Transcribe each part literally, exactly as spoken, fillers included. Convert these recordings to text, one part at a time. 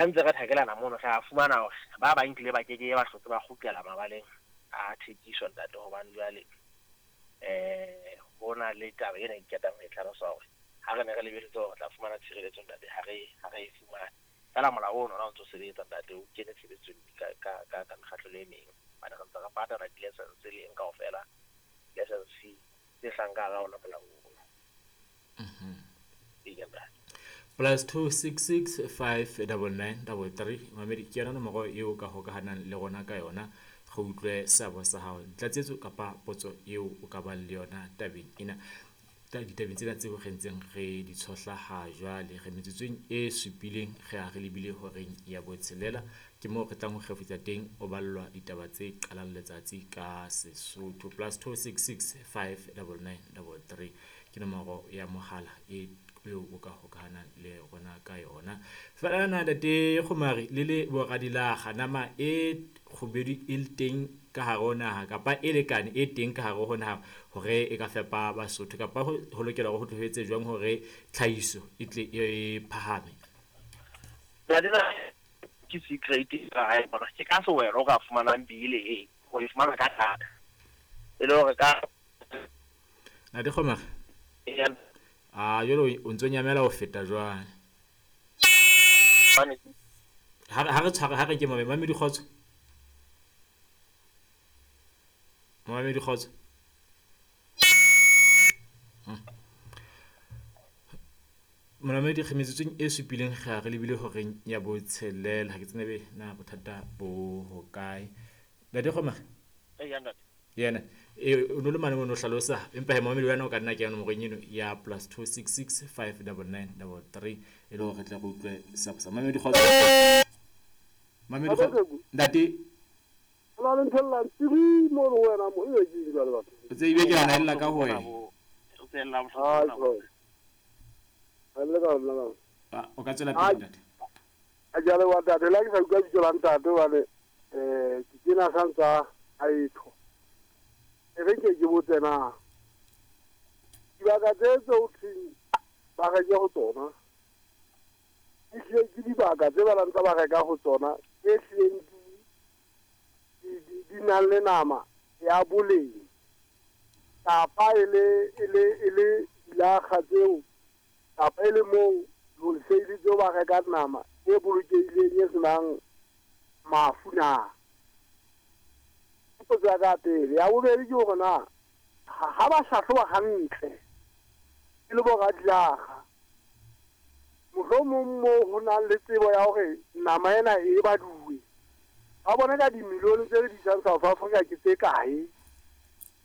Ha ntse re thakelana mono re a fumana hore ba bang tlile ba keke ba hlotse ba kgutlela mabaleng a thekiso ntate, hobane jwale eh ho na le taba ena ke qetang ho e tlhalosa hore ha re ne re lebeletse hore re tla fumana tshireletso ntate, ha re ha re e fumane. Fela molao ono ona o ntso sebetsa ntate, o kene tshebetsong ka ka ka ka mekgatlo e meng, hobane re ntse re patala di-license le eng kaofela, license fee tse hlahang ka hara ona molao ono. Eya ntate. Plus two six six five double nine double three mamedi, ke yona nomoro eo ka hokahanang le rona ka yona. Re utlwe seabo sa hao, tlatsetso kapa potso eo o ka bang le yona tabeng ena, ditabeng tsena tseo re ntseng re di tshohla ha jwale. Re metsotsong e supileng re a re lebile horeng ya botshelela, ke moo re tlang ho kgefutsa teng o ballwa ditaba tse qalang letsatsi ka Sesotho. Plus two six six five double nine double three ke nomoro ya mohala e eo o ka hokahanang le rona ka yona. Fela na ntate Kgomari le le boradilaga, nama e kgubedu e le teng ka hare ho naha kapa e lekane e teng ka hare ho naha hore e ka fepa Basotho, kapa ho ho lokela hore ho tlohetse jwang hore tlhahiso e tle e phahame? Ntate, ke secret ka hae bona, ke ka sewelo o ka fumanang bile e o e fumana ka thata e le hore ka Ntate Kgomari, a jwale o ntso nyamela ho feta jwale. Ha re ha re tshware ha re ke mame mamedi kgotso. Mamedi kgotso. Monamedi re metsotsong e supileng re a re lebile horeng ya botshelela. Ha ke tsebe na bothata bo hokae. Ntate Kgomari. Eya ntate. Yena e o no le mane mono hlalosa, empa he mamedi wena o ka nna kena nomorong eno ya plus two six six five double nine double three e le hore re tle re utlwe seabo sa mamedi kgotso. Mamedi kgotso. Ntate la le ntho la tiri mo re wena mo e ke jwale batho. O tsebe ke ana ella ka ho wena. O tsela bohloko. Ha le ka nna. O ka tswela pele ntate. A jale wa ntate la ke sa utlwa bitso la ntate hobane eh ke kena sa ntsa a etho. E re ke ke botse na dibaka tse tse o thweng ba reke ho tsona, ehlile ke dibaka tse ba ntse ba reka ho tsona tse hlileng di di nang le nama ya boleng, kapa e le e le e le dilakga tseo, kapa e le moo wholesale tseo ba reka nama e bolokehileng e senang mafu na. Potso ya ka pele. Ya bobedi ke hore na ha ba hlahloba hantle e le boradilaga, mohlomong moo ho nang le tsebo ya hore nama ena e baduwe, ba bone ka dimilione tse re di isang South Africa ke tse kae.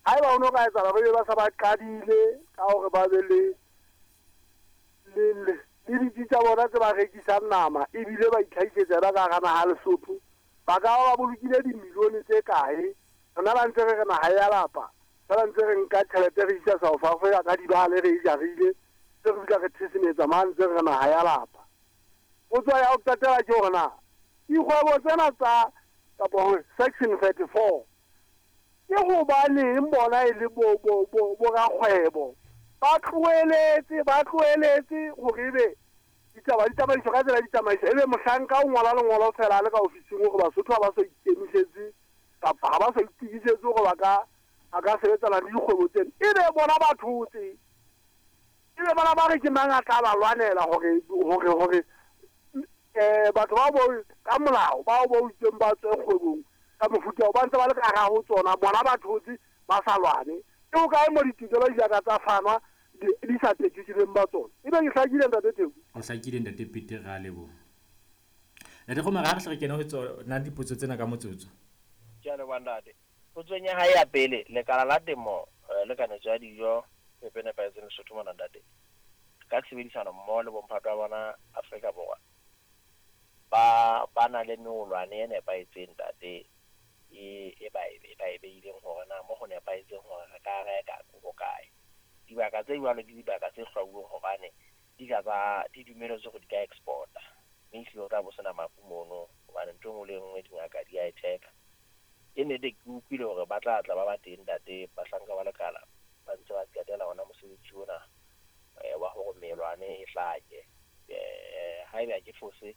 Haeba ho no ka etsahala ba be ba sa ba qadile ka hore ba be le le le ditsi tsa bona tse ba rekisang nama ebile ba itlhahisetsa yona ka hara naha Lesotho, ba ka ba bolokile dimilione tse kae. Rona ba ntse re re naha ya lapa, fela ntse re nka tjhelete re isa South Africa ka dibale re e jarile, tse re fihla re thesemetsa mane ntse re re naha ya lapa. Potso ya ho qetela ke hore na dikgwebo tsena tsa kapa hore section thirty-four ke hobaneng bona e le bo bo bo borakgwebo ba tlohelletse ba tlohelletse hore ebe ditaba di tsamaiswa ka tsela di tsamaiswa, ebe mohlanka o ngola lengolo fela a le ka ofising hore Basotho ha ba so ikemisetse kapa ha ba sa itukisetse hore ba ka a ka sebetsana le dikgwebo tsena, ebe bona ba thotse, ebe bona ba re ke mang a tla ba lwanela hore hore hore eh batho ba bo ka molao bao ba utsweng ba tswe kgwebong ka mofuta ba ntse ba le ka hara ho tsona, bona ba thotse ba sa lwane. Ke ho kae mo ditokelo di ka tsa fanwa di sa tekisitseng ba tsona? Ebe ke hlakile ntate Theko? O hlakile ntate Peter, ra leboha. Ntate Kgomari, ha re hle re kene ho tsona dipotso tsena ka motsotso. Ke a leboha ntate. Potsong ya hae ya pele, lekala la temo le kanetso ya dijo phepo e nepahetseng Lesotho mona ntate, ka tshebedisano mmoho le bomphato wa bona Afrika Borwa ba ba na le meolwane e nepahetseng ntate, e e ba e ba e beileng hore na mo ho nepahetseng hore re ka reka ko kae. Dibaka tse jwalo ke dibaka tse hlwauweng hobane di ka tsa di dumeletswe hore di ka exporta, mme ehlile o tla bo sena mafu mono hobane ntho e nngwe le e nngwe dingaka di a e check-a. Ke nnete ke utlwile hore ba tla tla ba ba teng ntate, bahlanka ba lekala ba ntse ba qetela hona mosebetsi ona wa hore melwane e hlake. Haeba ke fose